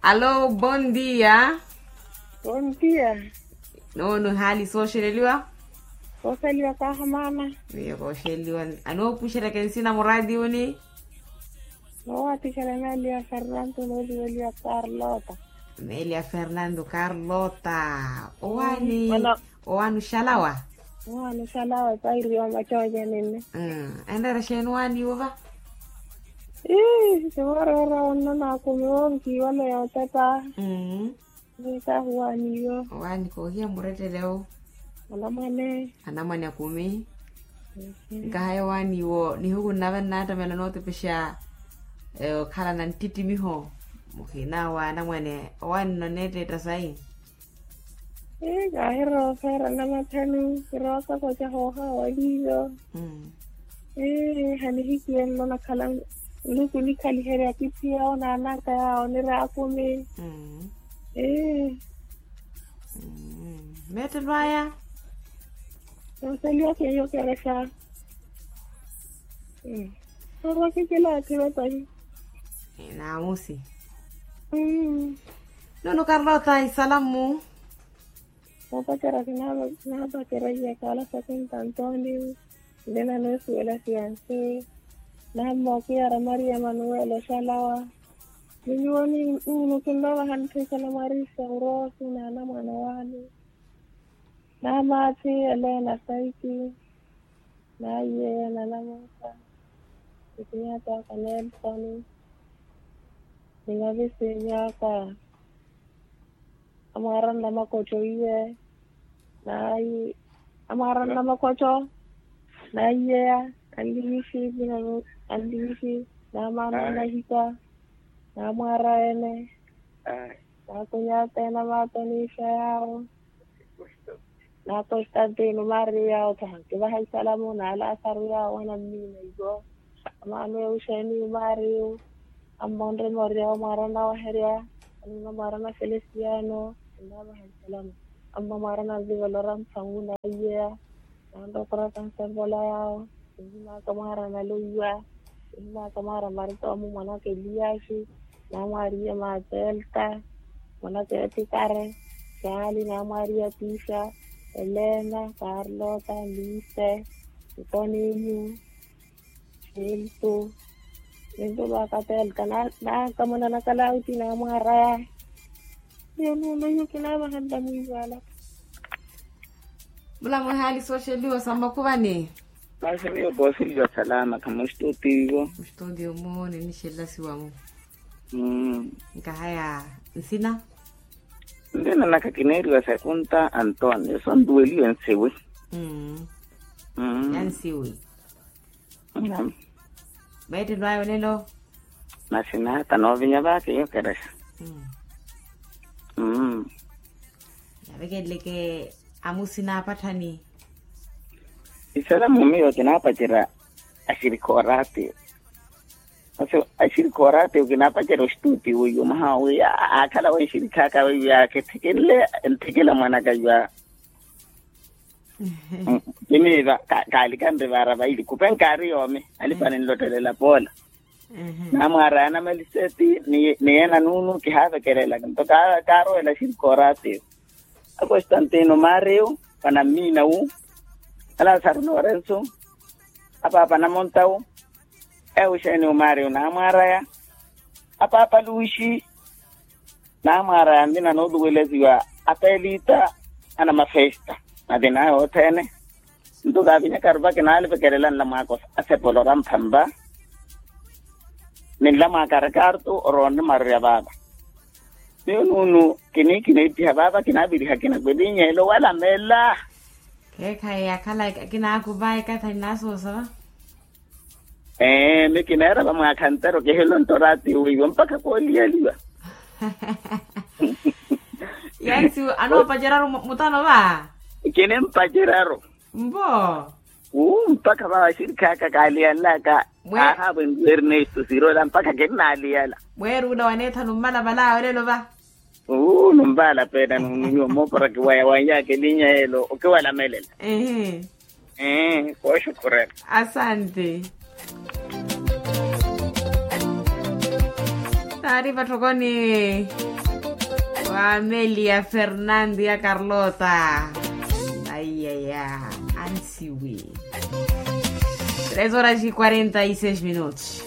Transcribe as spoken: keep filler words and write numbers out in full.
Alo, bondia. Bondia. Nono hali sooxeleliwa? Sooxeleliwa kaahamaana. Miyo kooxeleliwa. Anoopuxerya kensina muraatiwuni. Noowatixerya meeliya fernando nooliweliwa karlota. Meeliya fernando karlota. Owaani? Owaani oxalawa? Owaani oxalawa epairi yoomacoocani nne. Enreera xeeni owaani iwo va? Ii simoorerya wonno naakumiwa onkiiwale yootepa. Nikahuwaaniyo. Owaani koohiya murettele wo. Anamwane. Anamwane akumi. Nkahaya owaani wo nihuku nnava nnaattamela nootepexa okhala na nttittimiho. Mukhina wa anamwane owaani nno neetteetta sayi. Ii kaahirooferya namathani kirooka koca hooha waliiyo. Ii hanihikiye nno nakhala nluku nikhaliherya kitthiya onaanaka yaawo niraakumi. Ii. Meettelo aya. Nooseliwa keiyo kerexa. Sorwa kikilaathi vapahi. Naamusi. Nono karlota isalamu. Noopacerya kinaapacerya iye kaala sakinta antonio. Nde nanoosuwela siyansi. Nammookiya ra maria manuwela oxalawa. Ni nyuwo nunu kinoovaha ntthikela mwarisa uroosi naana mwana waani. Namaathi elena saiki. Naiyeya nanamusa. Nikinyata aka nelson. Ninavisinyaka. Amwaara nnamakotto iye. Nayi amwaara nnamakotto. Naiyeya. Anliwishi. Anliwishi. Namaana nnahika. Namwaara ene. Nakunyata ena maatanixa yaawo. Na konstantino mario yaawo thaha kivaha isalamu na lasaru yaawo anammiina iwo. Amaano euxeni mario. Ammonre moria omwaarana waherya. Anuna mwaarana felestiano. Ennavaha isalamu. Amma mwaarana nvivelora mphangu na iyeya. Nanrokoraka nsevola yaawo. Nihimaka mwaara naloiwa. Nihimaka mwaara maritomu mwanaka eliyaxi. Namwaariye matelta. Mwanaka etikare. Saali namwaariye atixa. Elena karlota lise. Ntoniniu. Xiltu. Nintulwaka telta. Nankamuna nakalauti namwaaraya. Iyo nuno iyo kinavaha ntamwiivala. Mulamuhali sooxeliwa sa mmakuvani. Masi miyo kooseliwa salama khamuxituutiyo. Muxituutiyo mu ninixelasiwa mu. Nkahaya nsina. Nsina naka kineeriwa sakunta antonio sontuweliwe nsiwi. Yansiwi. Meettelo ayo olelo. Masi naata noovinya vaakeiyo kerexa. Navekeleke amusi naapatthani. Isalamu miyo kinaapacerya axirikha oraatiyo. Masi axirikha oraatiyo kinaapacerya oxituutiyo mwaha wi aakhala wenxirikhaka weiya kithikile. Nthikila mwanaka iwa. Kiniiva kaalikanre vaara vaili khupenkaari yoomi. Alipani nlottelela poola. Namwaaraya na meliseti ni yeena nuunu kihaavekerelaka nto kaarowela xirikooraatiyo. Akostantino mario, panammiina wu. Alasaru lorenso. Apaapa namonta wu. Euxenio mario namwaaraya. Apaapa luxi. Namwaaraya nlina nooluwelesiwa apelita. Anamafesta. Natinaya othene. Nto kaavinyakaru va kinaalivekerela nlamwaaka asepolo ra mphampa. Ni nlamwaaka rikarto oroonre maru ya vaava. Miyo nuunu kiniikhina ephiha vaava kinaaviriha kinakwelinyelo walamela. Kheekhayi yakhala kinaakuva ekathani naasoosa va. Ee mikineera vamwaakha ntero kihilonto oraatiyo weiwo mpakha kooliyaliwa. Yansi anoopaceraru mutano va. Kinimpaceraru. Mpo. Uu mpakha va axirikhaaka kaaliyanlaka. Aahaavo enrwi ernesto sirola mpakha kinnaaliyala. Mweeruula waneethanu mmalavala awe olelo va. Uu numvaala peena nunumiwa moopora kiwaya wanyaaka elinya elo okiwalamelela. Ehe. Ee kooxukhurela. Asante. ari vatthokoni wa amelia fernando ya carlota. Aiyaya. Ansiwi. Tres horas e quarenta e seis minutos.